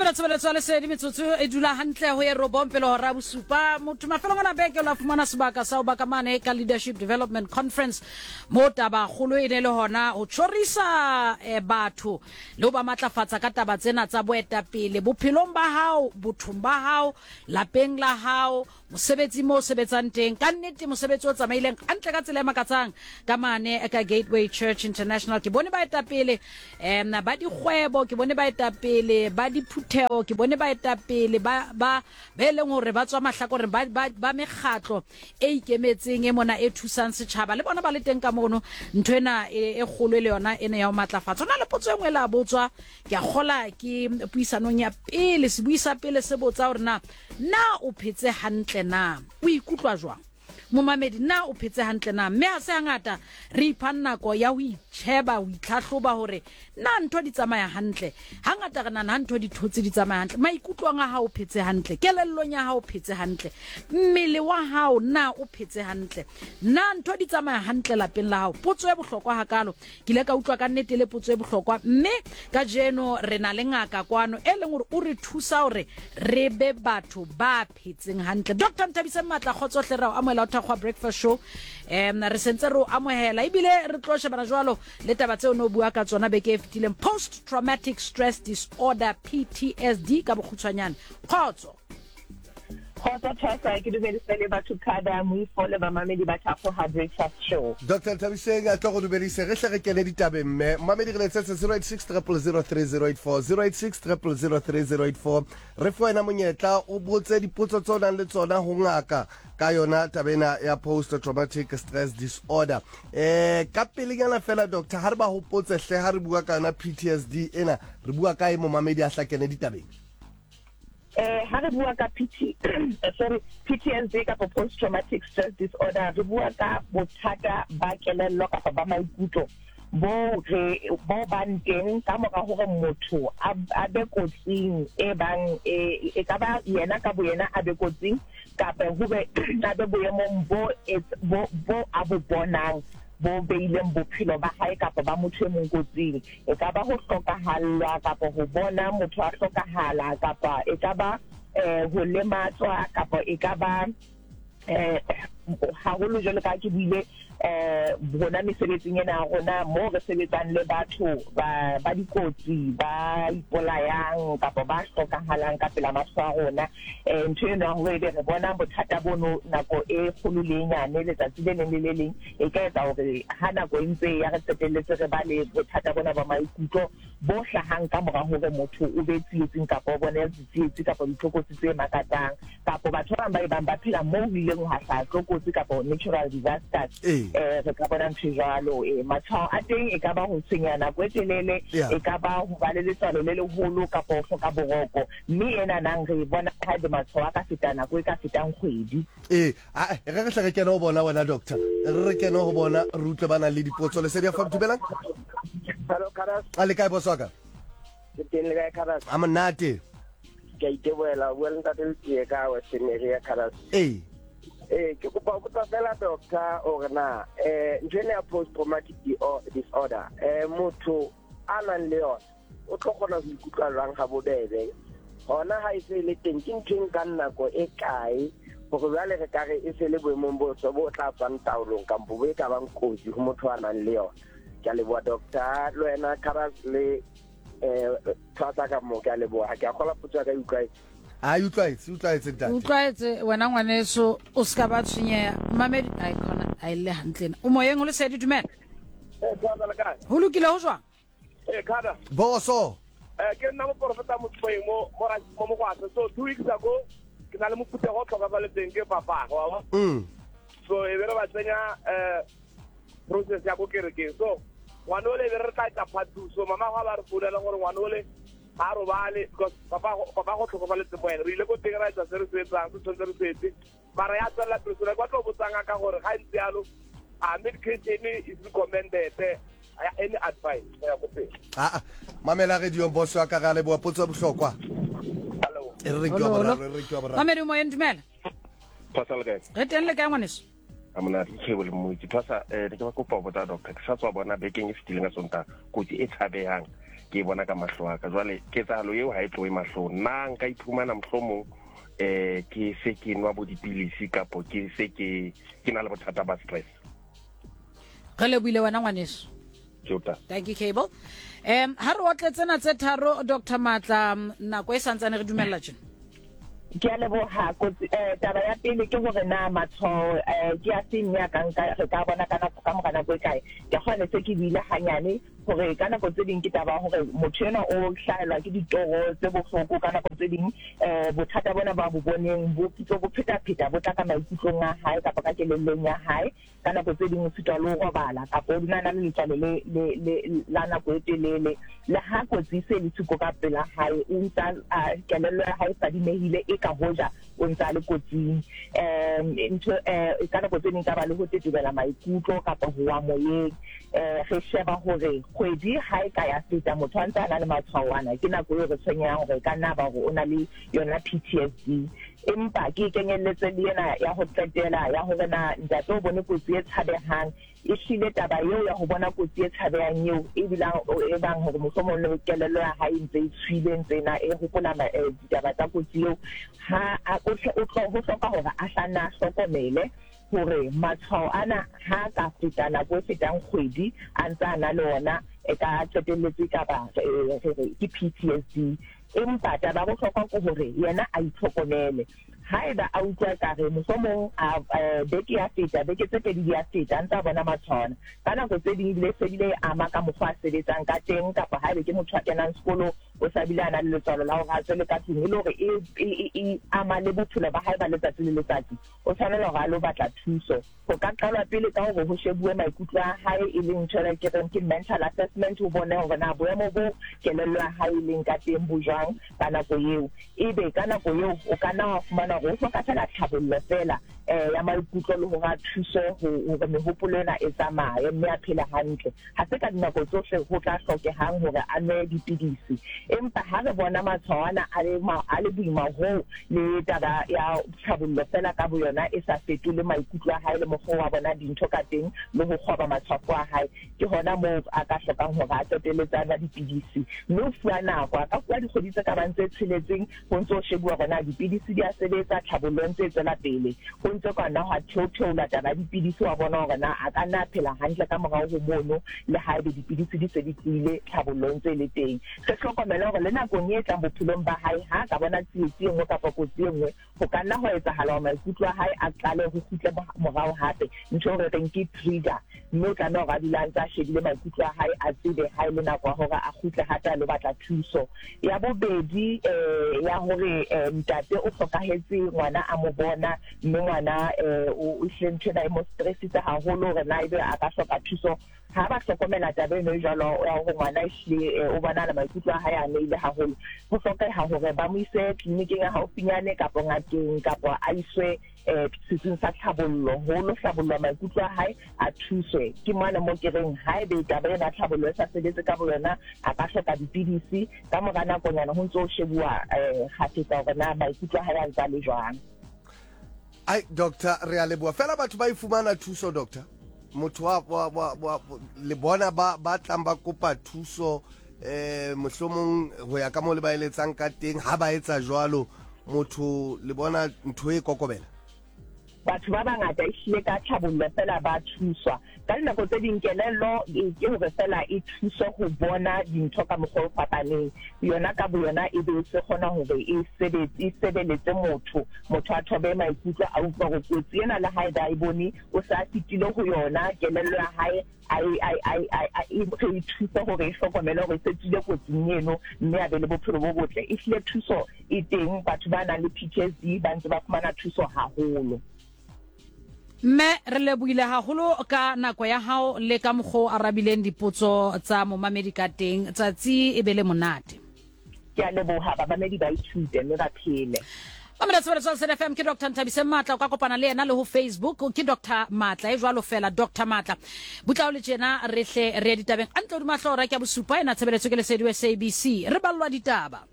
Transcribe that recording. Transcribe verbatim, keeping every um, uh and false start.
Mamela tshebeletso ya lesedi metsotso e dula hantle ho e robong pele hora ya bosupa. Motho mafelong ana beke o la fumana sebaka sa ho ba ka mane ka Leadership Development Conference mo taba kgolo e ne le hona ho tjhorisa eh, batho le ho ba matlafatsa ka taba tsena tsa boetapele bophelong ba hao, bothong ba hao, lapeng la hao, mosebetsi mo o sebetsang teng. Ka nnete mosebetsi o tsamaileng hantle ka tsela e makatsang ka mane ka Gateway Church International. Ke bone baetapele em ba dikgwebo, ke bone baetapele ba diphutheo, ke bone baetapele ba ba be leng hore ba tswa mahlakoreng ba ba, ba mekgatlo e ikemetseng e mona e thusang setjhaba le bona ba le teng ka mono. Ntho ena e e kgolo e le yona ena ya ho matlafatsa. Ho na le potso e nngwe e la botswa, ke a kgola ke puisanong ya pele, sebui sa pele se botsa hore na na o phetse hantle na, o ikutlwa jwang momamedi, na o phetse hantle na. Mme ha se hangata re iphang nako ya ho itjheba, ho itlhahloba hore na ntho di tsamaya hantle. Hangata re nahana ha ntho di thotse di tsamaya hantle. Maikutlong a hao o phetse hantle, kelellong ya hao o phetse hantle, mmele wa hao na o phetse hantle, na ntho di tsamaya hantle lapeng la hao. Potso e bohlokwa hakalo, ke ile ka utlwa ka nnete le potso e bohlokwa. Mme kajeno re na le ngaka kwano e leng hore o re thusa hore re be batho ba phetseng hantle. Doctor Nthabiseng Matla, kgotso hle, re o amohela ho Thakgoha Breakfast Show. um re sentse re o amohela ebile re tlo shebana jwalo le taba tseo no bua ka tsona beke e fetileng, post traumatic stress disorder, P T S D ka bokgutshwanyane. Kgotso. Kgotso Thasa, ke dumedisa le batho kada moifo le bamamedi ba Thakgoha Breakfast Show. Doctor Nthabiseng a tlo go dumedise, re hle re kene ditabeng mme. Mamedi re letsetse zero eight six triple zero three zero eight four, zero eight six triple zero three zero eight four. Re fe wena monyetla o botse dipotso tseo nang le tsona ho ngaka ka yona taba ena ya post traumatic stress disorder. Eh ka pelenyana fela doctor, ha re ba hopotse hle ha re bua ka yona P T S D ena, re bua ka e momamedi a hlakene ditabeng. Eh ha re bua ka P T, sorry, P T S D kapa post traumatic stress disorder, re bua ka bothata ba kelello kapa ba maikutlo bo re bo bang teng ka mora hore motho a a be kotsing e bang e e ka ba yena ka boyena a be kotsing kapa ho be a be boemong bo bo bo a bo bonang bo beileng bophelo ba hae kapa ba motho e mong kotsing. E ka ba ho hlokahallwa kapa ho bona motho a hlokahala kapa e ka ba eh ho lematswa kapa e ka ba eh haholo jwalo ka ke buile eh rona mesebetsing ena ya rona mo re sebetsang le batho ba ba dikotsi ba ipolayang kapa ba hlokahalang ka pela mahlo a rona. Eh ntho eno ya hore ebe re bona bothata bono nako e kgolo le e nyane letsatsi le leng le le leng e ka etsa hore ha nako e ntse ya re qetelletse re ba le bothata bona ba maikutlo bo hlahang ka mora hore motho o be tsietsing kapa o bone ditsietsi kapa ditlokotsi tse makatsang kapa batho ba bang ba e bang ba phela moo ho ileng hwa hlaha tlokotsi kapa natural disasters. Eh re ka bona ntho jwalo. Eh matshwao a teng e ka ba ho tshwenya nako e telele, e ka ba ho ba le letswalo le leholo kapa ho hloka boroko, mme ena nang re bona ha ebe matshwao a ka feta nako e ka fetang kgwedi. Eh a re re hle re kene ho bona wena doctor, re re kene ho bona re utlwe ba nang le dipotso. Lesedi ya dumelang. Hello Karas. A le kae boss wa ka? Ke teng le kae Karas? A monate. Ke a itebohela, o bua le ntate Letsie ka Western area Karas. Eh. Eh ke kopa ho botsa fela doctor hore na eh ntho ena ya post traumatic disorder eh motho a nang le yona o tlo kgona ho ikutlwa jwang ha bobebe? Hona ha e se le teng ke ntho e nkang nako e kae hore jwale re ka re e se le boemong bo so bo tla tswang taolong kampo bo e ka bang kotsi ho motho a nang le yona? Ke a leboha doctor, le wena Karas le eh Thwasa ka mo, ke a leboha. Ke a kgola potso ya ka e utlwaetse. A utlwaetse, utlwaetse ntate. Utlwaetse wena ngwaneso, o ska ba tshwenyeha. Mamedi ai khona a ile hantle ena. O moyeng o lesedi, dumela. Eh Thwasa le kae? Ho lokile ho jwang? Eh Kada. Boso. Eh ke nna moprofeta Motsweng mo mo mo Mogwase. So two weeks ago ke na le mophuthego o tlhokafaletseng ke papa wa wa. Mm. So e be re ba tsenya eh process ya ko kerekeng. So ngwana ole be re tla etsa part two. So mama gwa ba re founela gore ngwana ole ha robale because papa papa go tlhokofaletse mo ene. Re ile ko teng ra etsa se re se etsang, se tshwanetse re se etse. Mara ya tswella pele. So kwa tlo botsang ka gore ga ntse yalo a medication is recommended, any advice ya go pele? Ah mamela radio boss wa ka ga le boa potso bohlokwa. Hello. E re ke wa boraro, re ke wa boraro. Mamedi moyeng, dumela. Thwasa le kae? Re teng le kae ngwaneso? A monate ke le motse. Thwasa eh ke ba kopa ho botsa doctor, ke sa tswa bona bekeng e fetileng ka Sontaha kotsi e tshabehang. Ke bona ka mahlo a ka. Jwale ketsahalo eo ha e tlohe mahlong. Nna nka iphumana mohlomong eh ke se ke nwa bo dipilisi kapo ke se ke ke na le bothata ba stress. Re lebohile wena ngwaneso. Jota. Thank you, Cable. Um ha re otle tsena tse tharo, Doctor Matla, nako e santsane re dumella tjena. Ke a leboha. Kotsi, eh, taba ya pele ke hore na matshwao eh, ke a feng ya ka nka re ka bona ka nako ka mora nako e kae. Ke kgone se ke buile hanyane hore ka nako tse ding ke taba ya hore motho enwa o hlahelwa ke ditoro tse bohloko, ka nako tse ding eh, bothata bona ba bo boneng bo pitso bo phetapheta bo tla ka maikutlong a hae kapa ka kelellong ya hae. Ka nako tse ding o sitwa le ho robala kapa o dula a na le letswalo le, le, le, la nako e telele. Le ha kotsi e se le siko ka pela hae, o ntsa a kelello ya hae e fadimehile e ka hoja o ntsa le kotsing. Um ntho eh ka nako tse ding ka ba le ho tetebela maikutlo kapa ho wa moyeng. Eh re sheba hore kgwedi ha e ka ya feta motho a ntse a na le matshwao ana, ke nako eo re tshwenyehang hore e ka nna ba hore o na le yona P T S D. Empa ke kenyelletse le ena ya ho qetela ya hore na ntate o bone kotsi e tshabehang. E hlile taba eo ya ho bona kotsi e tshabehang eo e bilang e bang hore mohlomong le kelello ya hae ntse e tshwile ntse na e hopola ditaba tsa kotsi eo, ha a o tlo ho hloka hore a hlanna a hlokomele hore matshwao ana ha ka feta nako e fetang kgwedi a ntse a na le ona, e ka qetelletse ka ba ke P T S D. Empa taba ya bohlokwa ke hore yena a itlhokomele. Haeba a utlwa ekare mohlomong a beke ya feta, beke tse pedi di ya feta, a ntse a bona matshwao ana. Ka nako tse ding ebile se bile e ama ka mokgwa a sebetsang ka teng, kapa haebe ke motho a kenang sekolo o sa bile a na le letswalo la hore a tswele ka tlung, e le hore e e ama le bophelo ba hae ba letsatsi le letsatsi, o tshwanela hore a lo batla thuso. Ho ka qalwa pele ka hore ho shebuwe maikutlo a hae, e leng ntho e ke reng ke mental assessment, ho bone hore na boemo bo kelello ya hae e leng ka teng bo jwang ka nako eo. Ebe ka nako eo o ka nna wa fumana hore o hloka fela tlhabollo fela eh ya maikutlo le hore a thuse hore mehopolo ena e tsamaye mme a phele hantle. Ha se ka dinako tsohle ho tla hlokehang hore a nwe dipidisi, empa ha re bona matshwao ana a le a le boima hoo le taba ya tlhabollo fela ka boyona e sa fetole maikutlo a hae le mokgwa wa bona dintho ka teng le ho kgoba matshwafo a hae, ke hona moo a ka hlokang hore a qetelletse a nwa dipidisi. Mme o fuwa nako, a ka fuwa dikgwedi tse ka bang tse tsheletseng ho ntso shebuwa hore na dipidisi di a sebetsa, tlhabollo ntse e tswela pele, ho ntse ka nna hwa theotheola taba ya dipidisi, wa bona hore na a ka nna a phela hantle ka morao ho mono le haebe dipidisi di se di tlohile, tlhabollo ntse e le teng. Re hlokomele hore le nakong e tlang bophelong ba hae, ha a ka bona tsietsi e nngwe kapa kotsi e nngwe, ho ka nna ho etsahala hore maikutlo a hae a qale ho kgutle morao hape, ntho eo re reng ke trigger. Mme o tlameha hore a dule a ntse a shebile maikutlo a hae, a tsebe ha e le nako ya hore a kgutle hape a lo batla thuso. Ya bobedi eh ya hore ntate o hlokahetse ngwana a mo bona, mme ngwana eh o hlile ntho ena e mo stressitse haholo hore na ebe a ka hloka thuso. Ha ba hlokomela taba eno e jwalo ya hore ngwana ehlile o bonahala maikutlo a hae a amehile haholo, ho hlokeha hore ba mo ise tleliniking ya haufinyane kapa ngakeng, kapa a iswe eh setsing sa tlhabollo ho lo hlabollwa maikutlo a hae, a thuswe. Ke mona mo ke reng haebe taba ena tlhabollo e sa sebetse ka boyona, a ka hloka dipidisi ka mora nakonyana ho ntso ho shebuwa eh kgafetsa hore na maikutlo a hae a ntse a le jwang. Ai doctor, re a leboha. Fela batho ba e fumana thuso doctor, motho wa wa wa le bona ba ba tlang ba kopa thuso eh mohlomong ho ya ka mo le ba eletsang ka teng, ha ba etsa jwalo motho le bona ntho e kokobela. Batho ba bangata ehlile ka tlhabollo fela ba thuswa. Ka dinako tse ding kelello ke hore fela e thuswe ho bona dintho ka mokgwa o fapaneng, yona ka boyona e be se kgona hore e sebetse, e sebeletse motho, motho a thobe maikutlo, a utlwa hore kotsi ena le haebe a e bone o sa fetile ho yona, kelello ya hae e re e thuse hore e hlokomele hore e se tswile kotsing eno mme a be le bophelo bo botle. Ehlile thuso e teng, batho ba nang le P T S D ba ntse ba fumana thuso haholo. Mme re lebohile haholo ka nako ya hao le ka mokgwa o arabileng dipotso tsa momamedi ka teng. Tsatsi e be le monate. Ke a leboha, bamamedi ba ithute mme ba phele. Mamela tshebeletso ya Lesedi F M, ke Doctor Nthabiseng Matla. O ka kopana le yena le ho Facebook, ke Doctor Matla e jwalo fela, Doctor Matla. Butla o le tjena re hle re ye ditabeng. A ntle hodima hlooho ya bosupa ena tshebeletso ke Lesedi S A B C. Re ballwa ditaba.